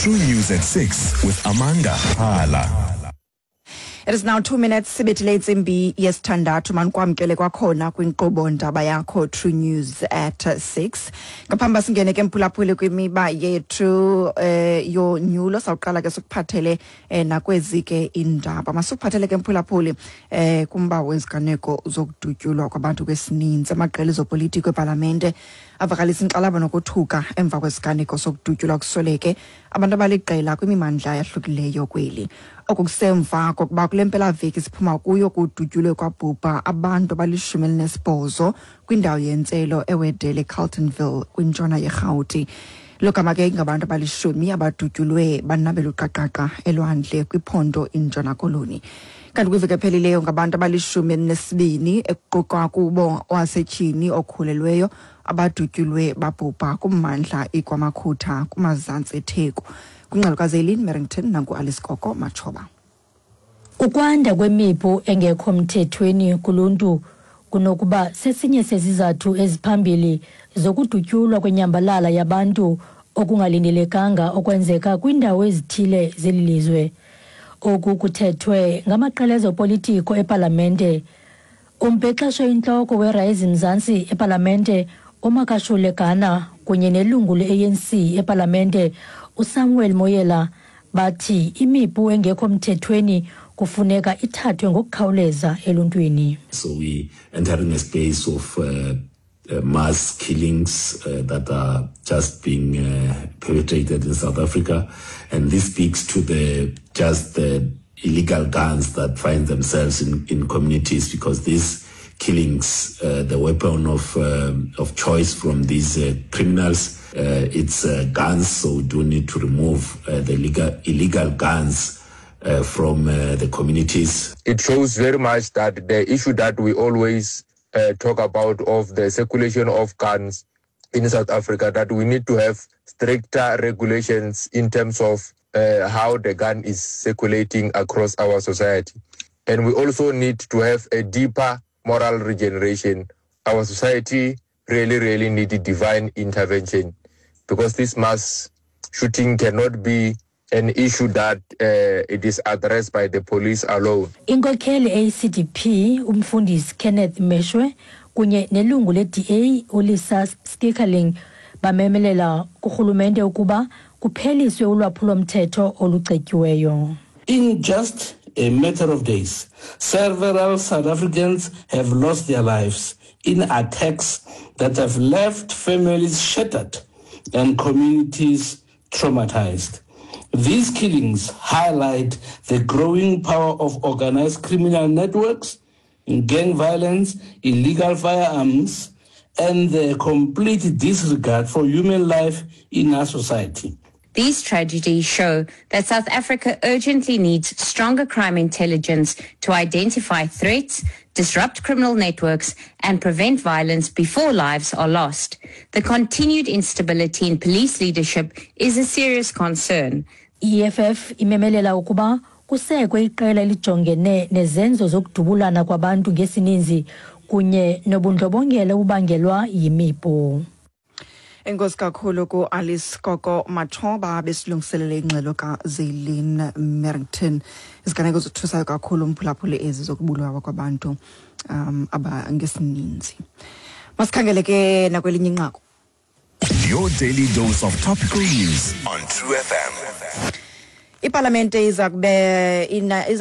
True News at 6 with Amanda Phala. It is now 2 minutes sibethile intsimbi yesithandathu. Manikwamkele kwakhona kwinkqubo ndaba yakho True News at 6. Ngaphambi singene ke, mphulaphuli, kwimiba yethu yonyulo, sawuqala ke sikuphathele nakwezi ke indaba. Masikuphathele ke, mphulaphuli, kumba weziganeko zokudutyulwa kwabantu kwesininzi. Amaqela ezopolitiko epalamente avakalisa inkxalabo nokothuka emva kwesiganeko sokudutyulwa kusweleke abantu abaliqela kwimimandla yahlukileyo kweli. Oku kusemva kokuba kule mpelaveki siphuma kuyo kudutyulwe kwabhubha abantu abali-18 kwindawo yentselo eWedele, Carltonville, kwintshona yeRhawuti. Logama ke ingabantu abalishumi abadutyulwe banabela uqaqaqa elwandle kwiphondo iNtshona Koloni. Kanti kwiveki ephelileyo ngabantu abali-12, ekuqukwa kubo owasetyhini okhulelweyo, abadutyulwe babhubha kummandla iKwaMakhutha kumazantsi eTheku. Kwingxelo kaZelin Merrington, nangu-Alice Koko Matshoba. Ukwanda kwemipu engekho mthethweni kuluntu kunokuba sesinye sezizathu eziphambili zokudutyulwa kwenyambalala yabantu okungalindelekanga okwenzeka kwiindawo ezithile zeli lizwe. Oku kuthethwe ngamaqela ezopolitiko epalamente. Umbhexesho intloko weRise Mzansi epalamente, uMakashule Gana, kunye nelungu le-ANC epalamente, uSamuel Moyela, bathi imipu engekho mthethweni kufuneka ithathwe ngokukhawuleza eluntwini. So we entering a space of mass killings that are just being perpetrated in South Africa, and this speaks to the just the illegal guns that find themselves in communities, because these killings, the weapon of choice from these criminals, it's guns. So we do need to remove the illegal guns from the communities. It shows very much that the issue that we always talk about of the circulation of guns in South Africa, that we need to have stricter regulations in terms of how the gun is circulating across our society. And we also need to have a deeper moral regeneration. Our society really, really needs divine intervention, because this mass shooting cannot be an issue that it is addressed by the police alone. Inkokheli eyi-CDP, umfundisi Kenneth Meshwe, kunye nelungu le-DA uLisa Schickerling bamemelela kurhulumente ukuba kupheliswe ulwaphulomthetho olucetyiweyo. In just a matter of days, several South Africans have lost their lives in attacks that have left families shattered and communities traumatized. These killings highlight the growing power of organized criminal networks, gang violence, illegal firearms, and the complete disregard for human life in our society. These tragedies show that South Africa urgently needs stronger crime intelligence to identify threats, disrupt criminal networks, and prevent violence before lives are lost. The continued instability in police leadership is a serious concern. I-EFF imemelela ukuba kusekwe iqela elijongene nezenzo zokudubulana kwabantu ngesininzi kunye nobundlobongela obubangelwa yimipu. Enkosi kakhulu ku-Alice Koko Matshoba besilungiselele ingxelo kaZelin Merrington. Iziganeko zothusayo kakhulu, umphulaphuli, ezi zokubulawa kwabantu abangesininzi. Masikhangele ke nakwelinye inqaku. Your daily dose of topical news on True FM. Ipalamente iza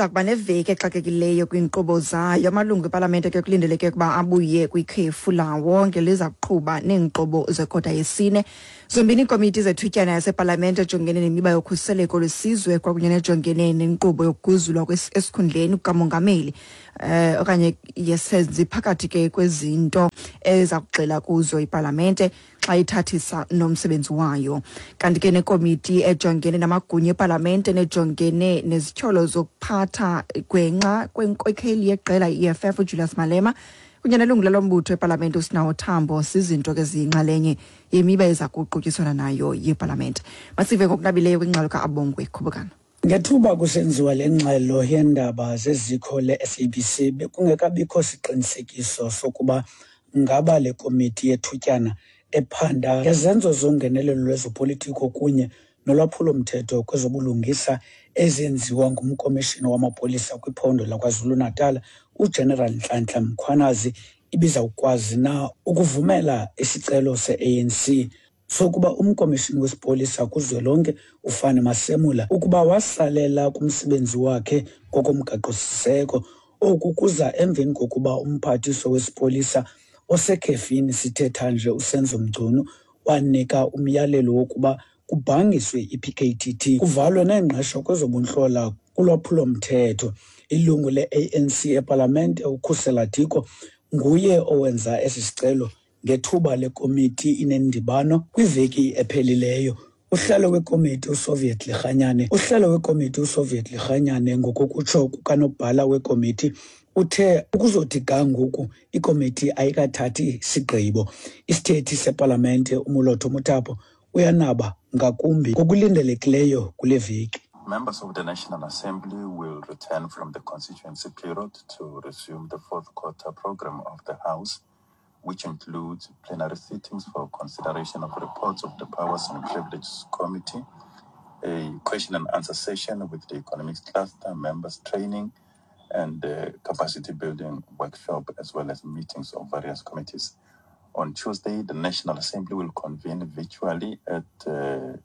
kuba neveki exakekileyo kwiinkqubo zayo. Amalungu epalamente ke kulindeleke ukuba abuye kwikhefu lawo ngeliza kuqhuba neenkqubo zekota yesine. Zombini iikomiti zethutyana yasepalamente ejongene nemiba yokhuseleko lwesizwe kwakunye nejongene nenkqubo yokuguzulwa esikhundleni kukamongameli okanye yesenzi phakathi ke kwezinto eza kugxila kuzo ipalamente xa ithathisa nomsebenzi wayo. Kanti ke nekomiti ejongene namagunya epalamente nejongene nezityholo zokuphatha gwenxa kwenkokheli yeqela i-EFF uJulius Malema kunye nelungu lalo mbutho epalamente uSinawo Thambo sizinto ke ziyinxalenye yemiba eza kuqutyiswana nayo yepalamente. Masive ngokunabileyo kwingxelo ka-Abongwe Khubukana. Ngethuba kusenziwa le ngxelo yeendaba zezikho le-SABC, bekungekabikho siqinisekiso sokuba ngaba le komiti yethutyana ephanda ngezenzo zongenelelo lwezopolitiko kunye nolwaphulo-mthetho kwezobulungisa ezenziwa ngumkomishini wamapolisa kwiphondo laKwaZulu-Natal uGeneral Nhlanhla Mkhwanazi ibizawukwazi na ukuvumela isicelo se-ANC sokuba umkomishini wesipolisa kuzwelonke uFani Masemola ukuba wasalela kumsebenzi wakhe ngokomgaqo-siseko. Oku kuza emveni kokuba umphathiswa wesipolisa osekhefini sithetha nje uSenzo Mchunu wanika umyalelo wokuba kubhangiswe i-PKTT kuvalwe neengqesho kwezobuntlola kulwaphulo-mthetho. Ilungu le-ANC epalamente uKhusela Diko nguye owenza esi sicelo ngethuba lekomiti inendibano kwiveki ephelileyo. Uhlalo wekomiti uSoviet Lekganyane uhlalo wekomiti uSoviet Lekganyane ngokokutsho kukanobhala wekomiti uthe ukuzothi ga ngoku ikomiti ayikathathi sigqibo. Isithethi sepalamente uMolotho Mothapo uyanaba ngakumbi ngokulindelekileyo kule veki. Members of the National Assembly will return from the constituency period to resume the fourth quarter program of the House, which includes plenary sittings for consideration of reports of the Powers and Privileges Committee, a question and answer session with the economics cluster, members training, and capacity building workshop, as well as meetings of various committees. On Tuesday, the National Assembly will convene virtually at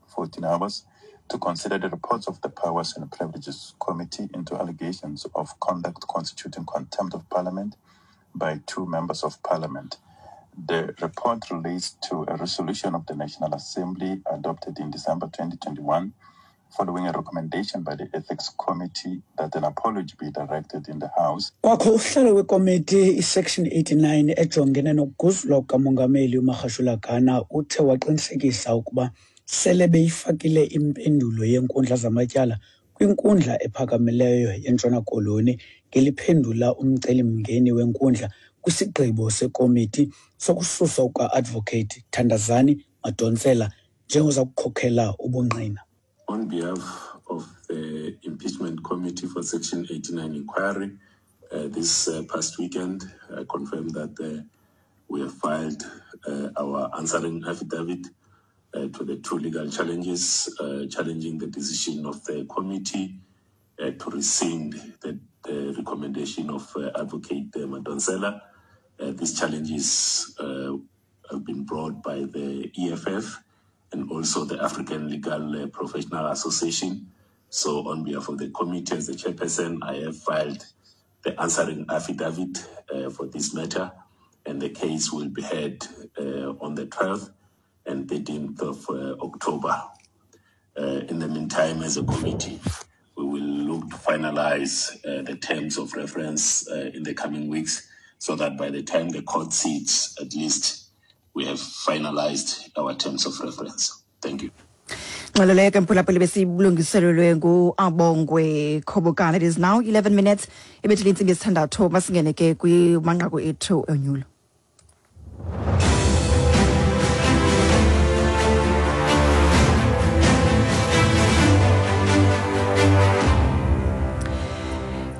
14 hours to consider the reports of the Powers and Privileges Committee into allegations of conduct constituting contempt of Parliament by two members of Parliament. The report relates to a resolution of the National Assembly adopted in December 2021 following a recommendation by the Ethics Committee that an apology be directed in the House. Kwakho uhlalo wekomiti iSection 89 ejongene nokuguzulwa kukamongameli uMagashula Gana uthe waqinisekisa ukuba sele beyifakile impendulo yenkundla zamatyala kwinkundla ephakamileyo yeNtshona Koloni ngeliphendula umcelimngeni wenkundla kwisigqibo sekomiti sokususwa kuka-Advocate Thandazani Madonsela njengoza kukhokhela ubungqina. On behalf of the Impeachment Committee for Section 89 inquiry, this past weekend, I confirmed that we have filed our answering affidavit to the two legal challenges, challenging the decision of the committee to rescind the recommendation of Advocate Madonsela. These challenges have been brought by the EFF and also the African Legal Professional Association. So on behalf of the committee, as the chairperson, I have filed the answering affidavit for this matter, and the case will be heard on the 12th and 13th of October. In the meantime, as a committee, we will look to finalize the terms of reference in the coming weeks, so that by the time the court sits, at least we have finalized our terms of reference. Thank you. Ngxelo leyo ke mphulaphuli besiyilungiselelwe nguAbongwe Khobokana. It is now 11 minutes ibethile intsimbi yesithandathu. Masingene ke kwimanqaku ethu onyulo.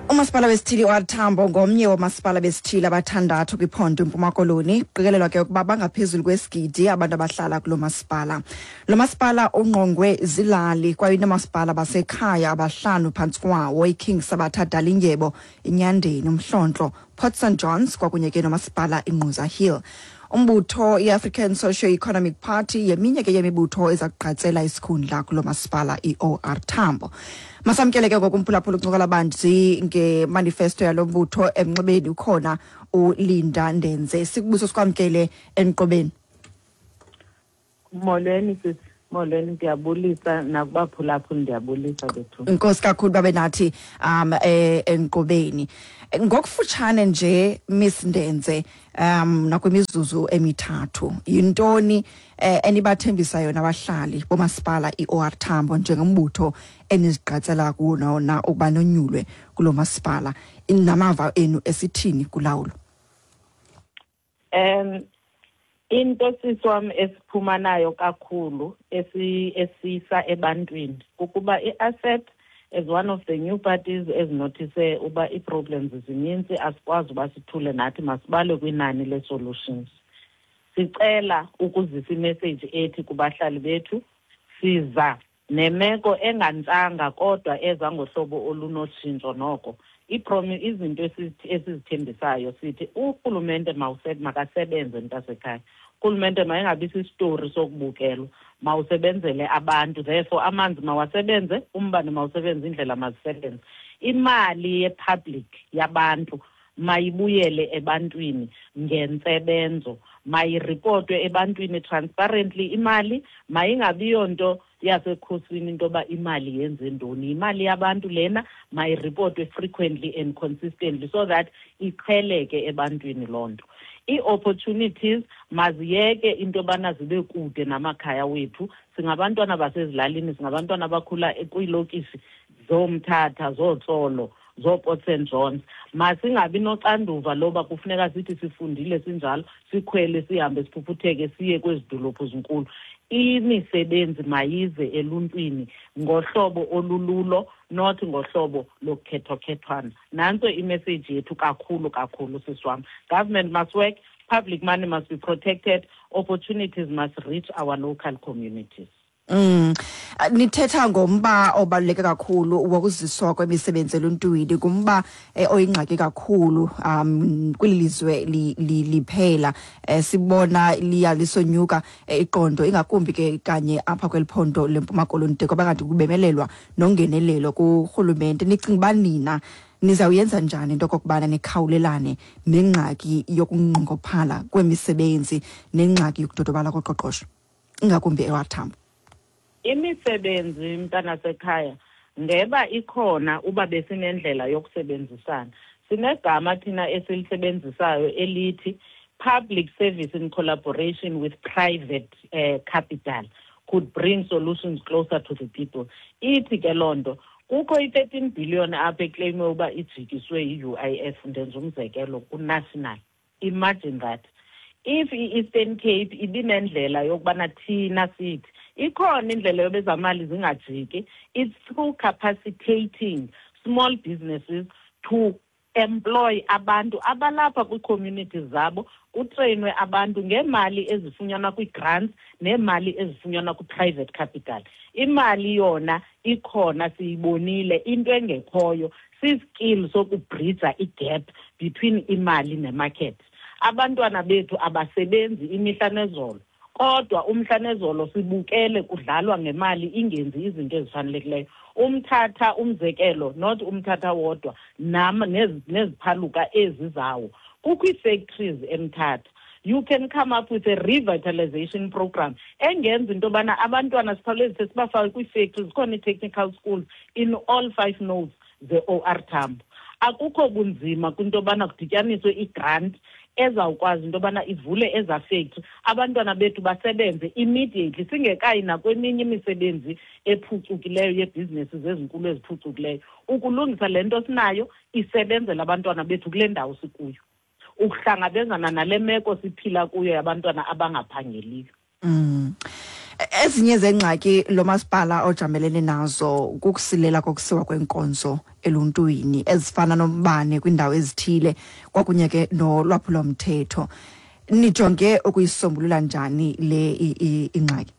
Umasipala wesithili uOR Tambo ngomnye womasipala besithili abathandathu kwiphondo iMpuma Koloni. Kuqikelelwa ke ukuba bangaphezulu kwesigidi abantu abahlala kulo masipala. Lo masipala ungqongwe zilali kwaye noomasipala basekhaya abahlanu phantsi kwawo: iKing Sabatha Dalindyebo, iNyandeni, uMhlontlo, Port St Johns kwakunye ke nomasipala iNgquza Hill. Umbutho i-African Socio-Economic Party yeminye ke yemibutho eza kugqatsela isikhundla kulo masipala i-OR Tambo. Masamkele ke ngoku umphulaphula uncokola banzi ngemanifesto yalo mbutho. Emnxebeni ukhona uLinda Ndenze. Sikubuso sikwamkele enqobeni. Molweni sisi, molweni, ndiyabulisa nakubaphulaphuli, ndiyabulisa bethu. Inkosi kakhulu babe nathi enqobeni. Ngokufutshane nje Miss Ndenze, nakwimizuzu emithathu, yintoni enibathembisa yona abahlali bomasipala iOR Tambo njengombutho enizigqatsela kuwo na ukuba nonyulwe kulo masipala, namava enu esithini kulawulo? Into sisi wam esiphuma nayo kakhulu esisa ebantwini kukuba i-asset as one of the new parties ezinothise uba ii-problems zininzi, asikwazi uba sithule nathi, masibale kwinani le-solutions. Sicela ukuzisa imessage ethi kubahlali bethu siza Nemeko engantsanga kodwa eza ngohlobo olunotshintsho noko. Izinto esizithembisayo sithi urhulumente makasebenze mntasekhaya. Urhulumente mayingabi sisitori sokubukelwa, mawusebenzele abantu. Therefore amanzi mawasebenze, umbane mawusebenze, indlela mazisebenze. Imali yepublic yabantu mayibuyele ebantwini ngentsebenzo, mayiripotwe ebantwini transparently imali, mayingabi yonto yasekhosini into yoba imali yenze ntoni. Imali yabantu lena mayiripotwe frequently and consistently so that iqheleke ebantwini loo nto. Ii-opportunities maziyeke into yobana zibe kude namakhaya wethu. Singabantwana basezilalini, singabantwana abakhula kwiilokishi zooMthatha, zooTsolo, zooPort St Johns. Masingabi noxanduva loba kufuneka sithi sifundile sinjalo, sikhwele sihambe siphuphutheke siye kwezi dolophu zinkulu. Imisebenzi mayize eluntwini ngohlobo olululo, not ngohlobo lokukhethwakhethwana. Nantso imessage yethu kakhulu kakhulu, sisi wam. Government must work, public money must be protected, opportunities must reach our local communities. Nithetha ngomba obaluleke kakhulu wokuziswa kwemisebenzi eluntwini, ngumba oyingxaki kakhulu kweli lizwe liphela. Sibona liya lisonyuka iqondo, ingakumbi ke kanye apha kweli phondo leMpuma Koloni, de kwaba kanti kubemelelwa nongenelelo kurhulumente. Nicinga uba nina nizawuyenza njani into okokubana nikhawulelane nengxaki yokunqongophala kwemisebenzi nengxaki yokudodobala koqoqosho, ingakumbi eWathambo? Imisebenzi, mntanasekhaya, ngeba ikhona uba besinendlela yokusebenzisana. Sinegama thina esilisebenzisayo elithi public service in collaboration with private capital could bring solutions closer to the people. Ithi ke loo nto, kukho i-13 billion apha eclaimwe uba ijikiswe yi-UIF, ndenza umzekelo, ku-national. Imagine that. If i-Eastern Cape ibinendlela yokubana thina sithi ikhona indlela yobezamali zingajiki, it's through capacitating small businesses to employ abantu abalapha kwii-communities zabo, kutreyinwe abantu ngeemali ezifunyanwa kwii-grants neemali ezifunyanwa kwi-private capital. Imali yona ikhona, siyibonile. Into engekhoyo siskill sokubhrija igap between imali nemarket. Abantwana bethu abasebenzi imihla nezolo, kodwa umhla nezolo sibukele kudlalwa ngemali ingenzi izinto ezifanelekileyo. Umthatha umzekelo, not umthatha wodwa, nam neziphaluka ezi zawo. Kukho ii-factories eMthatha. You can come up with a revitalization program engenza into yobana abantwana sikhawulezise sibafake kwii-factories. Zikhona ii-technical schools in all 5 nodes ze-O R Tambo. Akukho bunzima kwinto yobana kudityaniswe i-grant ezawukwazi into yobana ivule ezaa factory, abantwana bethu basebenze immediately, singekayi nakweminye imisebenzi ephucukileyo yebhizinesi zezinkulu eziphucukileyo. Ukulungisa le nto sinayo isebenzela abantwana bethu kule ndawo sikuyo, ukuhlangabezana nale meko siphila kuyo yabantwana abangaphangeliyo. Ezinye zengxaki lo masipala ojamelene nazo kukusilela kokusiwa kwenkonzo eluntwini, ezifana nombane kwiindawo ezithile, kwakunye ke nolwaphulomthetho. Nijonge ukuyisombulula njani le ingxaki?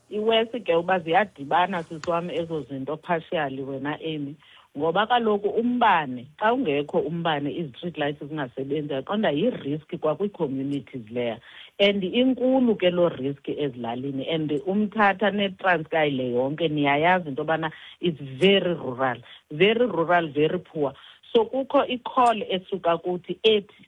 Iwesi ke uba ziyadibana, sisi wam, ezo zinto partially wena Amy, ngoba kaloku umbane, xa ungekho umbane izi-street lights zingasebenzi, yaqonda yi-risk kwakwii-communities leya, and inkulu ke loo risk ezilalini. And uMthatha neTranskei le yonke niyayazi into yobana it's very rural, very rural, very poor. So kukho i-call esuka kuthi ethi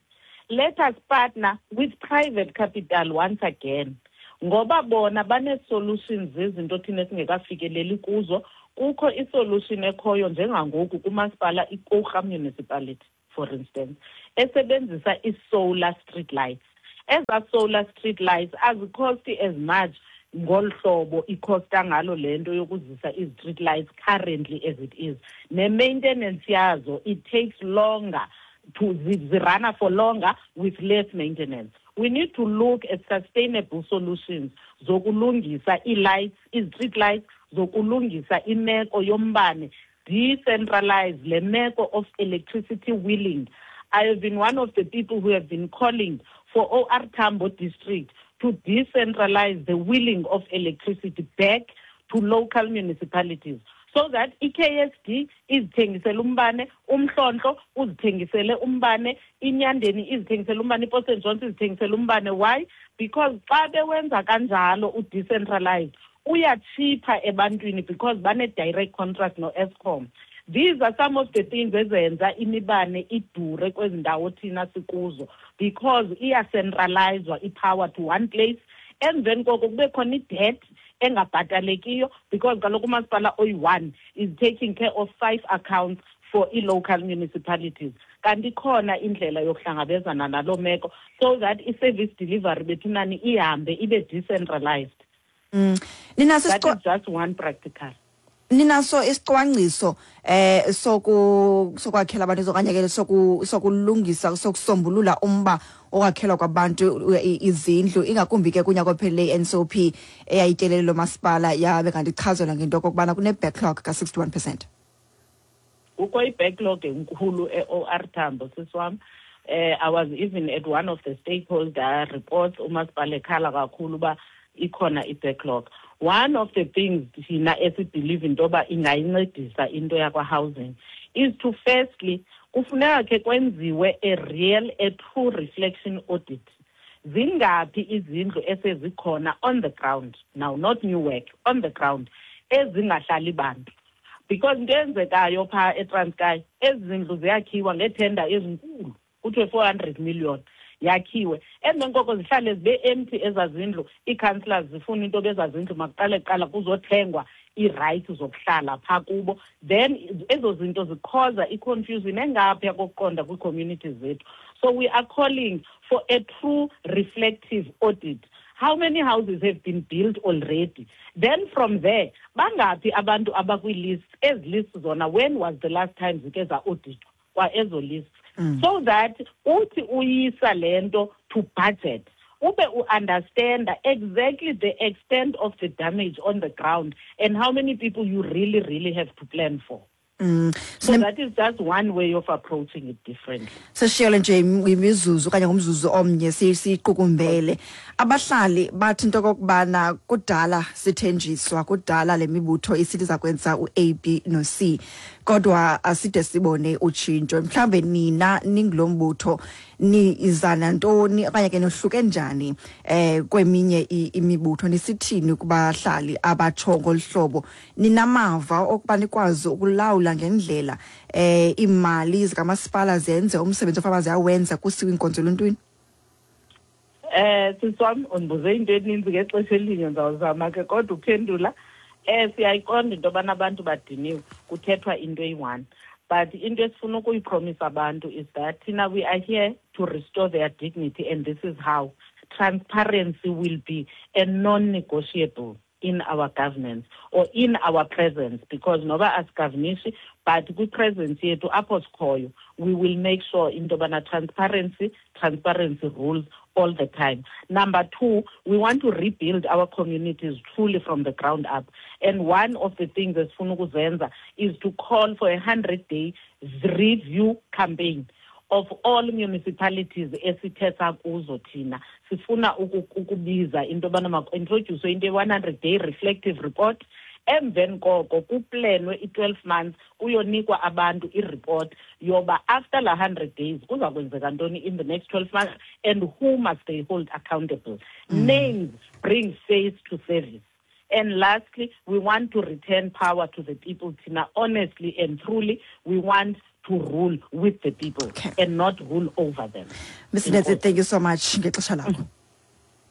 let us partner with private capital once again, ngoba bona banee-solutions zezinto thina esingekafikeleli kuzo. Kukho isolution ekhoyo njengangoku kumasipala iKouga Municipality, for instance, esebenzisa i-solar street lights. Eza solar street lights azikhosti as much ngolu hlobo ikhosta ngalo le nto yokuzisa i-street lights currently as it is. Ne-maintenance yazo, it takes longer to zirana for longer with less maintenance. We need to look at sustainable solutions zokulungisa ii-lights, i-street lights, zokulungisa imeko yombane, decentralize le meko of electricity wheeling. I have been one of the people who have been calling for OR Tambo district to decentralize the wheeling of electricity back to local municipalities so that i-KSD izithengisele umbane, uMhlontlo uzithengisele umbane, iNyandeni izithengisele umbane, iPort St Johns izithengisele umbane. Why? Because xa bewenza kanjalo u-decentralized, uyatshipha ebantwini because bane-direct contract no-Eskom. These are some of the things ezenza imibane idure kwezi ndawo thina sikuzo, because iyacentralizwa i-power to one place. Emveni koko kube khona i-debt engabhatalekiyo, because kaloku umasipala oyi-one is taking care of 5 accounts for i-local municipalities. Kanti ikhona indlela yokuhlangabezana naloo meko so that i-service delivery bethunani ihambe ibe decentralized. Ninaso That is just one practical. Ninaso isicwangciso sokwakhela abantu okanye ke sokulungisa, sokusombulula umba okwakhelwa kwabantu izindlu, ingakumbi ke kunyaka ophelileyo i-NCOP eyayityelele lo masipala yabe kanti ichazelwa ngento okokubana kune-backlog ka-61%. Kukho i-backlog enkulu e-OR Tambo, sisi wam. I was even at one of the stakeholder reports, umasipala ekhala kakhulu uba ikhona i-backlog. One of the things thina esibelieve into yoba ingayincedisa into yakwa-housing is to firstly, kufuneka ke kwenziwe a real, a true reflection audit. Zingaphi izindlu esezikhona on the ground now, not new work, on the ground, ezingahlali bantu? Because into eyenzekayo phaa eTranskei, ezi zindlu ziyakhiwa ngeethenda ezinkulu, kuthiwe 400 million yakhiwe. Emveni koko zihlale zibe empty ezaa zindlu, ii-councillors zifuna into yoba ezaa zindlu makuqale kuqala kuzothengwa ii-rights zokuhlala phaa kubo. Then ezo zinto zikhoza i-confusion engaphaya kokuqonda kwii-communities zethu. So we are calling for a true reflective audit. How many houses have been built already? Then from there, bangaphi abantu abakwii-list, ezi lists zona, when was the last time zike za-auditwa kwa ezo lists? So that uthi uyisa le nto to budget, ube u-understanda exactly the extent of the damage on the ground and how many people you really, really have to plan for. So that is just one way of approaching it differently. Sishiyele nje imizuzu okanye ngumzuzu omnye siyiqukumbele. Abahlali bathi into okokubana kudala sithenjiswa, kudala le mibutho isithi iza kwenza u-A, B no-C, kodwa aside sibone utshintsho. Mhlawumbe nina ningulo mbutho niza nantoni okanye ke nohluke njani kweminye imibutho, nisithini kubahlali abatsho ngolu hlobo? Ninamava okuba nikwazi ukulawula ngendlela iimali zikamasipala zenze umsebenzi ofana ziyawenza kusiwe iinkonzo eluntwini? Sisi wam, undibuze into eninzi ngexesha elinye, ndizawuzama ke kodwa uphendula. Siyayiqonda into yobana abantu badiniwe, kuthethwa into eyi-one. But into esifuna ukuyipromisa abantu is that thina we are here to restore their dignity, and this is how. Transparency will be a non-negotiable in our governance or in our presence, because noba asigovernisi, but kwi-presence yethu apho sikhoyo, we will make sure into yobana transparency rules all the time. Number two, we want to rebuild our communities truly from the ground up. And one of the things esifuna ukuzenza is to call for a 100-day review campaign of all municipalities esithetha kuzo thina. Sifuna ukubiza into yobana maku-introduce into ye-100-day reflective report. Emveni koko kuplanwe i-12 months, kuyonikwa abantu i-report yoba after la 100 days kuza kwenzeka ntoni in the next 12 months and who must they hold accountable. Names bring face to service. And lastly, we want to return power to the people, Tina. Honestly and truly, we want to rule with the people and not rule over them. Miz Netse, thank you so much ngexesha lakho.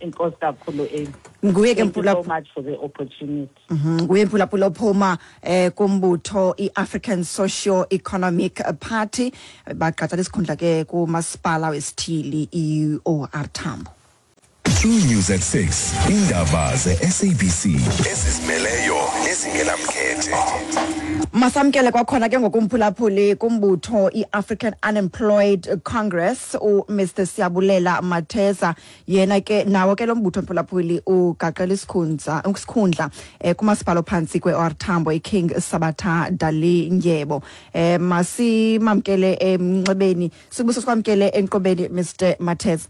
Enkosi kakhulu, Amy. Nguye ke Thank you so Mpula- much for the opportunity. Nguye Mphulaphula ophuma kumbutho i-African Socio-Economic Party, bagqatsa isikhundla ke kumasipala wesithili i-OR Tambo. True News at 6, indaba ze-SABC ezizimeleyo nezingenamkhethe. Masamkele kwakhona ke ngokumphulaphuli kumbutho i-African Unemployed Congress uMr Siyabulela Matheza. Yena ke nawo ke lo mbutho mphulaphuli ugaqela isikhundla kumasipala ophantsi kwe-OR Tambo iKing Sabatha Dalindyebo. Masimamkele emnxebeni, sibuso sikwamkele enkqubeni Mr Matheza.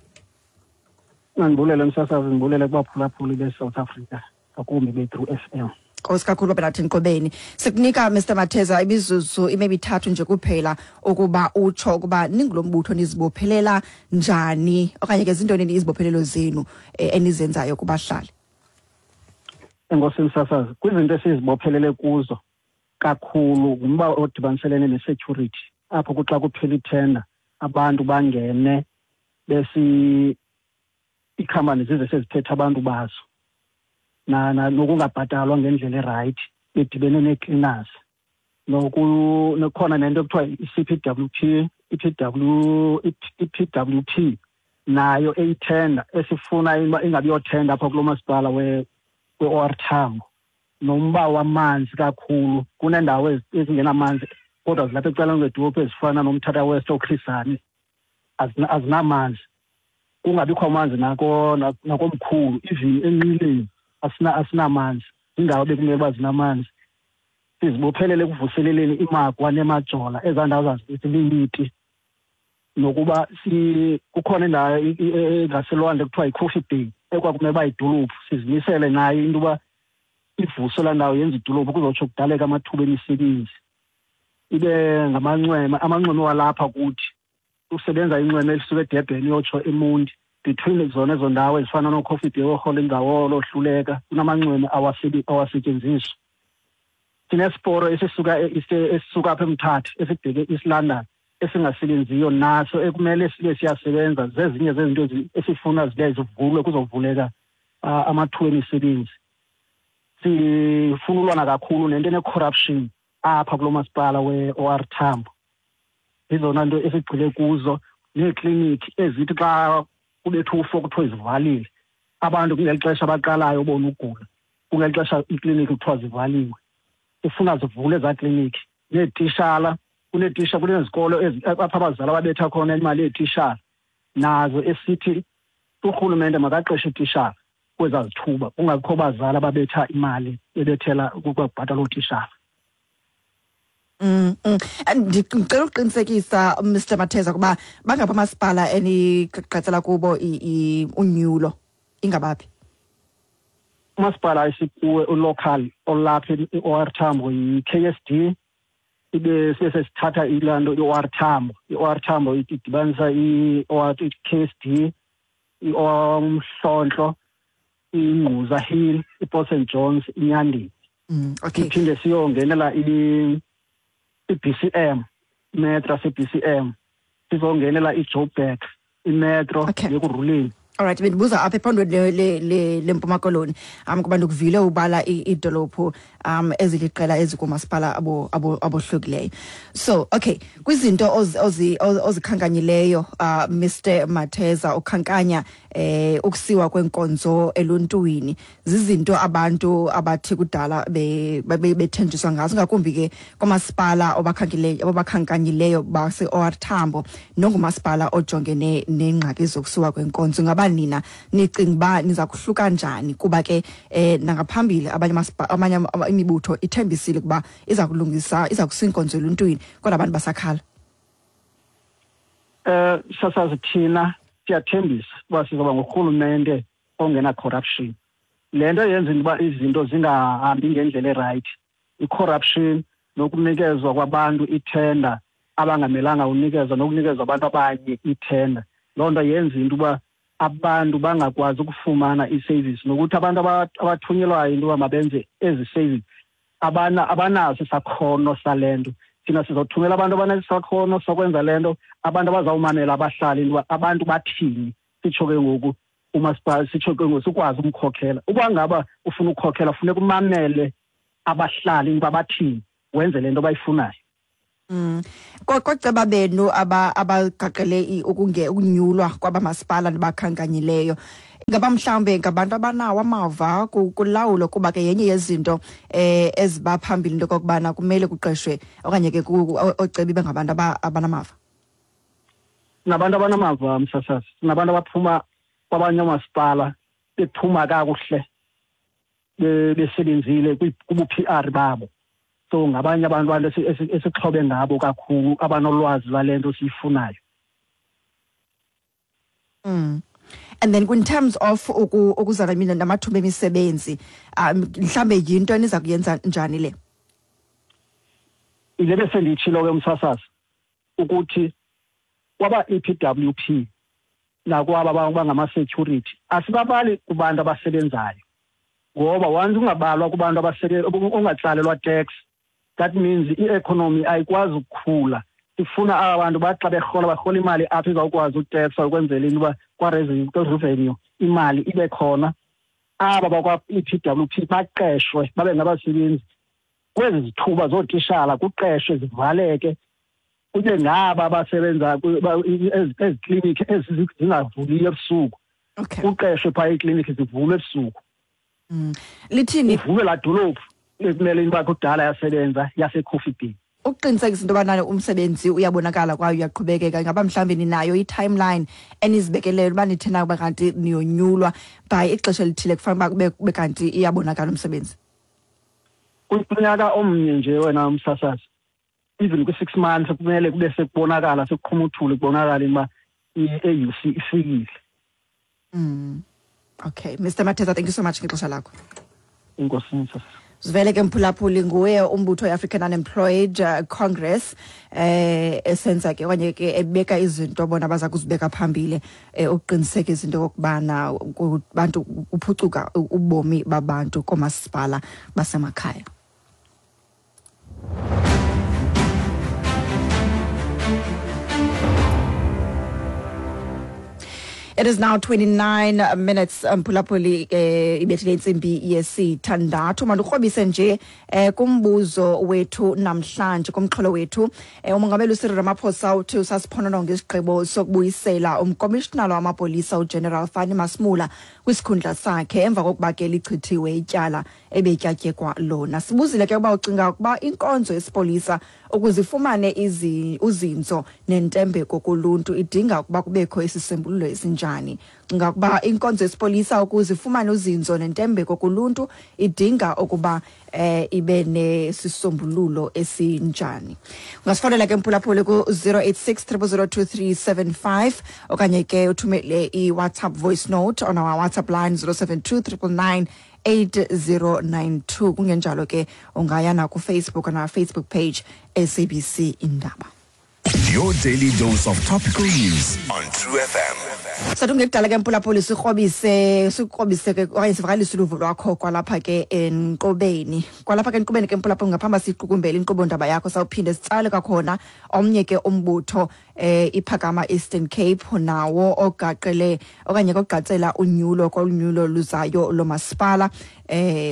Mandibulele msasazi, ndibulele kubaphulaphuli be-South Africa, ngakumbi be-True FM. Nkosi kakhulu baba nathi Nqobeni. Sikunika Mr Matheza imizuzu imemithathu nje kuphela ukuba utsho ukuba ningulombutho nizibophelela njani okanye ke zintoni izibophelelo zenu enizenzayo kubahlali. Enkosi msasazi, kwizinto esizibophelele kuzo kakhulu ngumba odibaniselene ne-security, apho kuxa kuphela ithenda abantu bangene besi iikhampani zize seziphethe abantu bazo nokungabhatalwa ngendlela erayithi bedibene nee-cleaners, nokukhona nento ekuthiwa i-C_P_W_P, i-P_W_P nayo eyithenda esifuna ingabi yothenda apha kulo masipala we-O_R Tambo. Nomba wamanzi kakhulu, kuneendawo ezingenamanzi kodwa zilapha ecaleni kwedolophu ezifana noMthatha West, ooChris Hani, azinamanzi, kungabikho amanzi nakomkhulu, even enqileni asinamanzi, iindawo bekumele uba zinamanzi. Sizibophelele ekuvuseleleni iMagwa neMajola, ezaa ndawo zaziliyiti, nokuba kukhona indawo engaselwandle kuthiwa yiCoffee Bay ekwakumele uba yidolophu, sizimisele nayo into yoba ivuswe laa ndawo yenze idolophu kuzotsho kudaleka amathuba emisebenzi. Ibe ngamanxweme, amanxweme walapha kuthi usebenza inxweme elisuka eDurban iyotsho eMonti, between zona ezo ndawo ezifana nooCoffee Bay, ooRholingawolo, ooHluleka, kunamanxweme awasetyenziswa. Sinesiporo esisuka apha eMthatha esibheke East London esingasebenziyo naso ekumele sibe siyasebenza. Zezinye zezinto esifuna zibe zivulwe kuzovuleka amathuba emisebenzi. Sifuna ulwana kakhulu nento ene-corruption apha kulo masipala we-O_R Tambo. Zizona nto esigxile kuzo, neekliniki ezithi xa kubethu ufo kuthiwe zivalile, abantu kungeli xesha baqalayo ubona ugula, kungeli xesha iikliniki kuthiwa zivaliwe. Sifuna zivule ezaa kliniki. Neetishala, kuneetisha, kunezikolo apha abazali ababetha khona imali yeetishala, nazo esithi urhulumente makaqeshe iitishala kwezaa zithuba, kungabikho bazali ababetha imali bebethela ukubhatala ootishala. Ndicela ukuqinisekisa Mr Matheza ukuba bangaphi amasipala enigqatsela kubo unyulo, ingabaphi? Umasipala esikuwe ulocal olapha i-O_R Tambo yi-K_S_D, ibe siye sesithatha ilaa nto i-O_R Tambo. I-O_R Tambo idibanisa i-K_S_D, uMhlontlo, iNgquza Hill, iPort St Johns, iNyandeni. Okay. Siphinde siyongenela i-B_C_M, imetro yase-B_C_M, sizongenela iJoburg, imetro yeKurhuleni. Alright, bendibuza apha ephondweni leMpuma Koloni, kuba ndikuvile ubala iidolophu eziliqela ezikumasipala abohlukileyo. So, okay, kwizinto ozikhankanyileyo Mr Matheza, ukhankanya ukusiwa kwenkonzo eluntwini, zizinto abantu abathi kudala bethenjiswa ngazo, ngakumbi ke kwamasipala obakhankanyileyo base-O_R Tambo nongumasipala ojongene neengxaki zokusiwa kwenkonzo. Ngaba nina nicinga uba niza kuhluka njani, kuba ke nangaphambili abanye imibutho ithembisile ukuba iza kulungisa, iza kusa inkonzo eluntwini, kodwa abantu basakhala? Sasazi thina siyathembisa uba sizoba ngurhulumente ongena corruption. Le nto yenza uba izinto zingahambi ngendlela erayithi, i-corruption nokunikezwa kwabantu ithenda abangamelanga unikezwa, nokunikezwa abantu abanye ithenda, loo nto yenza into uba abantu bangakwazi ukufumana i-service, nokuthi abantu abathunyelwayo into yoba mabenze ezi service abanaso isakhono sale nto. Thina sizothumela abantu abanesakhono sokwenza le nto, abantu abazawumamela abahlali into yoba abantu bathini, sitsho ke ngoku umasipala, sitsho ke ngoku sikwazi umkhokhela. Uba ngaba ufuna ukukhokhela funeka umamele abahlali into yoba bathini, wenze le nto bayifunayo. Koceba benu abagaqele ukunyulwa kwabamasipala nibakhankanyileyo, ingaba mhlawumbe ngabantu abanawo amava kulawulo, kuba ke yenye yezinto eziba phambili into okokubana kumele kuqeshwe okanye ke oocebi bengabantu abanamava? Sinabantu abanamava msasazi, sinabantu abaphuma kwabanye oomasipala bephuma kakuhle, besebenzile kubu-P_R babo. So ngabanye abantu esixhobe ngabo kakhulu, abanolwazi lwale nto siyifunayo. And then in terms of ukuzala mina namathuba emisebenzi, mhlambe yinto eniza kuyenza njani le? Ile besendiyitshilo ke, umsasazi, ukuthi kwaba EPWP nakwaba bangama-security asibabali kubantu abasebenzayo, ngoba once ungabalwa kubantu ungatsalelwa tax, that means i-economy ayikwazi ukukhula. Sifuna aba bantu bathi xa berhola, barhola imali apho izawukwazi utekswa ukwenzela into uba kwa-revenue imali ibe khona. Aba bakwa-EPWP baqeshwe babe ngabasebenzi kwezi zithuba zootishala, kuqeshwe zivaleke, kube ngaba abasebenza ezi klinikhi ezi zingavuliyo ebusuku, kuqeshwe phaa iiklinikhi zivulwe ebusuku. Lithini? Ivulwe laa dolophu ekumele into uba kudala yasebenza, yaseCoffee Bay. Ukuqinisekisa into yobana umsebenzi uyabonakala kwaye uyaqhubekeka, ingaba mhlawumbi ninayo i-timeline enizibekeleyo uba nithe na uba kanti niyonyulwa, by ixesha elithile kufanele uba kube kanti iyabonakala umsebenzi? Kunyaka omnye nje, wena umsasazi, even kwi-6 months kumele kube sekubonakala, sekuqhuma uthuli, kubonakala uba i-AUC ifikile. Okay, Mr Mathetha, thank you so much ngexesha lakho. Enkosi, msasazi. Sivele ke, mphulaphuli, nguye umbutho we-African Unemployed Congress esenza ke okanye ke ebeka izinto bona baza kuzibeka phambili ukuqinisekisa into yokokubana bantu kuphucuka ubomi babantu koomasipala basemakhaya. It is now 29 minutes, mphulaphuli, ibethile intsimbi yesithandathu. Mandikrobise nje kumbuzo wethu namhlanje, kumxholo wethu. Umongameli uCyril Ramaphosa uthi usasiphonononga isigqibo sokubuyisela umkomishinala wamapolisa uGeneral Fannie Masemola kwisikhundla sakhe emva kokuba ke lichithiwe ityala ebetyatyekwa lona. Sibuzile ke uba ucinga ukuba inkonzo yesipolisa ukuze ifumane uzinzo nentembeko kuluntu idinga ukuba kubekho isisombululo esinjani. Cinga ukuba inkonzo yesipolisa ukuze ifumane uzinzo nentembeko kuluntu idinga ukuba ibe nesisombululo esinjani? Ungasifonela ke, mphulaphuli, ku-086 0002375 okanye ke uthumele i-WhatsApp voice note on our WhatsApp line 072 999 8092. Kungenjalo ke ungaya nakuFacebook on our Facebook page, SABC Indaba. Your daily dose of topical news on True FM. Sathi ungekudala ke, mphulaphuli, sikrobise, sikrobise ke okanye sivakalise uluvo lwakho kwalapha ke enkqubeni ke, mphulaphuli. Ngaphambi siyiqukumbele inkqubo ndaba yakho, sawuphinde sitsale kwakhona omnye ke umbutho, iPhakama Eastern Cape, nawo ogaqele okanye kogqatsela unyulo kolunyulo luzayo lomasipala.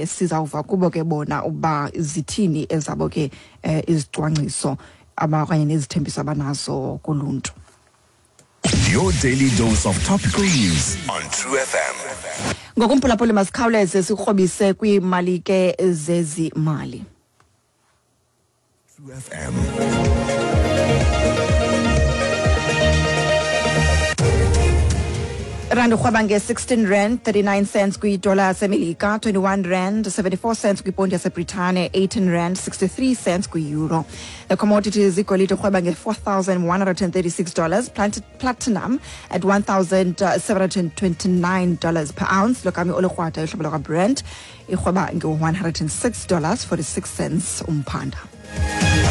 Sizawuva kubo ke bona uba zithini ezabo ke izicwangciso aba okanye nezithembiso abanazo kuluntu. Your daily dose of topical news on True FM. Ngokumphulaphuli, masikhawuleze sikrobise kwiimali ke zezimali. True FM. Rand urhweba nge-16 rand 39 cents kwidola yaseMelika, 21 rand 74 cents kwiponti yaseBritane, 18 rand 63 cents kwi-euro. The commodities: igolide urhweba nge-$4,136, platinum at $1,729 per ounce, logama olukrwada uhlobo lwakwaBrent irhweba nge-$106.46 umphanda.